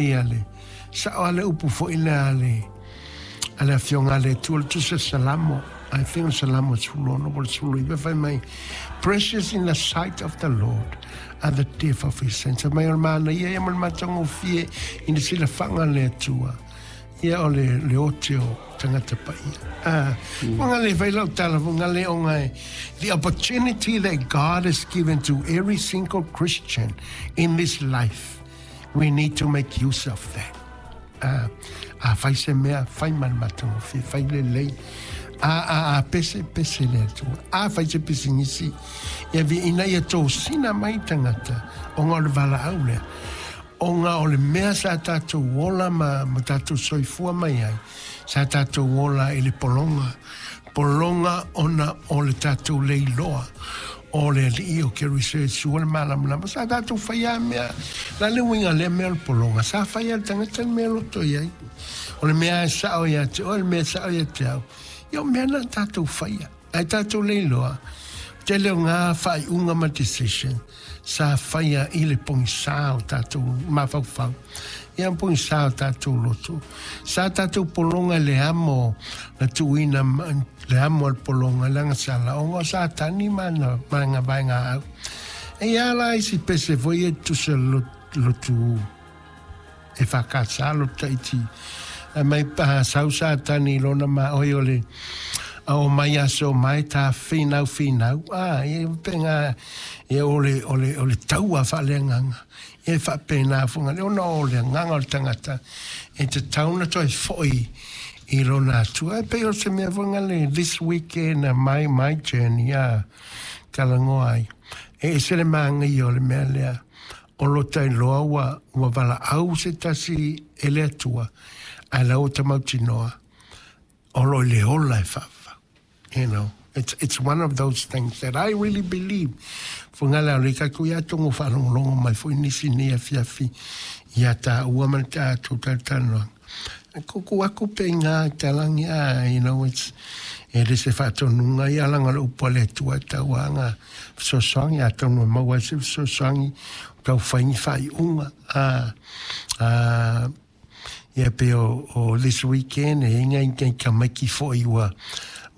Ia le sao a le upu foi lea a le a le afioga a le Atua le Tusi o Salamo, I think o Salamo 16 po o le 19 fai mai, Precious in the sight of the Lord are the death of his saints. Fai mai o le manaia ia ma le matagofie i le silafaga a le Atua. Ia o le, le ote o tagata paia. Ah, mm. le fai lau tala, le onga e, the opportunity that God has given to every single Christian in this life We need to make use of that. Uh, a fai se mea, fai ma le matagofie, fai lelei. A, a, a pese, pese le Atua. A fai se pisinisi, ia vi ina ia tosina mai tagata, ona o le valaau lea. Ona o le mea sa tatou ola ma, ma tatou soifua mai ai, sa tatou ola i le pologa, pologa ona o le tatou le iloa o le Alii o Keriso Iesu o le malamalama. Sa tatou faia a mea, la le uiga lea mea o le pologa, sa faia e le tagata le mea loto i ai. O le mea e sao ia te oe, le mea e sao ia te au. Ia o mea na tatou faia. Ae tatou le iloa, tele o ngā faaiuga ma decision sa faia i le pogisā o tatou mafaufau, ia pogisā o tatou loto. Sa tatou pologa i le amo na tuuina le amo a le pologa le agasala ona o Satani ma ana ma vaega au. E ia la isi pese foi e tusa lotu e whakasa lo taiti. A mai pa sau Satani i lona ma oi o le o mai aso mai ta whinau whinau. A, e penga e o le, o le, o le taua whaaleanganga. E whapena funga le ona o le anganga o le tangata. E te tauna toi foi i lona atua. E pei o se mea funga le this weekend my, my journey a talangoa ai. E ese le maangai o le mea lea. O lo tailoa ua, ua valaau se tasi e le Atua, ae la ua tamautinoa, o lo i le ola e whaawha. You know, it's, it's one of those things that I really believe. Funga lea o le kaku ia tongo whaalongolongo mai fo nisi ni a fiafi ia ta ua ma ta atu talanoa. Kuku aku pe ngā talangi a, you know, it's, e le se whaatonunga i alanga le upo le atua tau anga fesoasoani a tonu e maua ai se fesoasoani o tau whaingi whaiunga a, a ia pe o, o this weekend e inga inga i ka maiki foi ua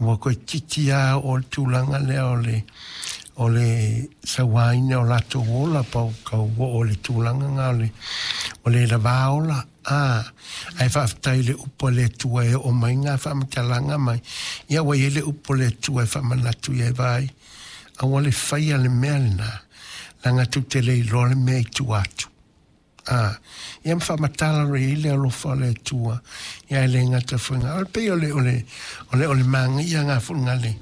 ua koe titi a o le tulaga lea o le o le sauaina o latou ola pau kau o le tulaga nga o le o le lava ola a ae faafetai le upu a le Atua e oo mai ngā faamatalaga mai ia ua i ai le upu a le Atua e faamanatu i ai vaai aua le faia le mea lenā leaga tou te le iloa le mea i tua atu. A, ia ma faamatala loa i ai le alofa o le Atua, ia e le gata foi ngā, o le pei o le, o le, o le, o le māgaia ngā foi ngā le,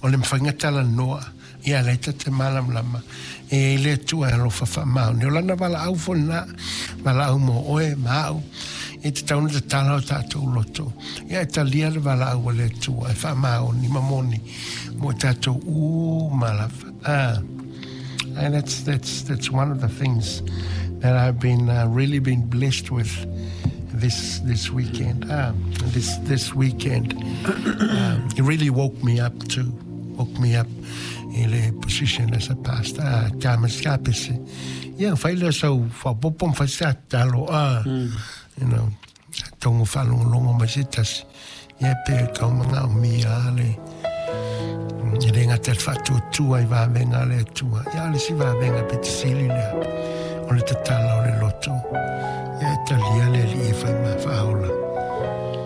o le mawhai ngā talanoa, ia le ta te malamalama, e i ai le Atua e alofa faamaoni. O lana valaau foi lena, valaau mo oe, ma au, e te tau na tatala o tatou loto, ia e talia le valaau a le Atua e faamaoni ma moni mo tatou uma lava. Ah, and that's, that's, that's one of the things that I've been really been blessed with this this weekend. This this weekend, it really woke me up too. Woke me up in le position as a pastor. Ah, ka ma ska pese. Ia fai le sau fa popo ma fai sa talo ah, you know, tongo whaalongolongo mai se tasi. Ia pe kau manga o mia le e le ngata le whaatuatua i vavenga le Atua. Ia o le si vavenga pe te sili lea. O le tatala o le loto. Ia e talia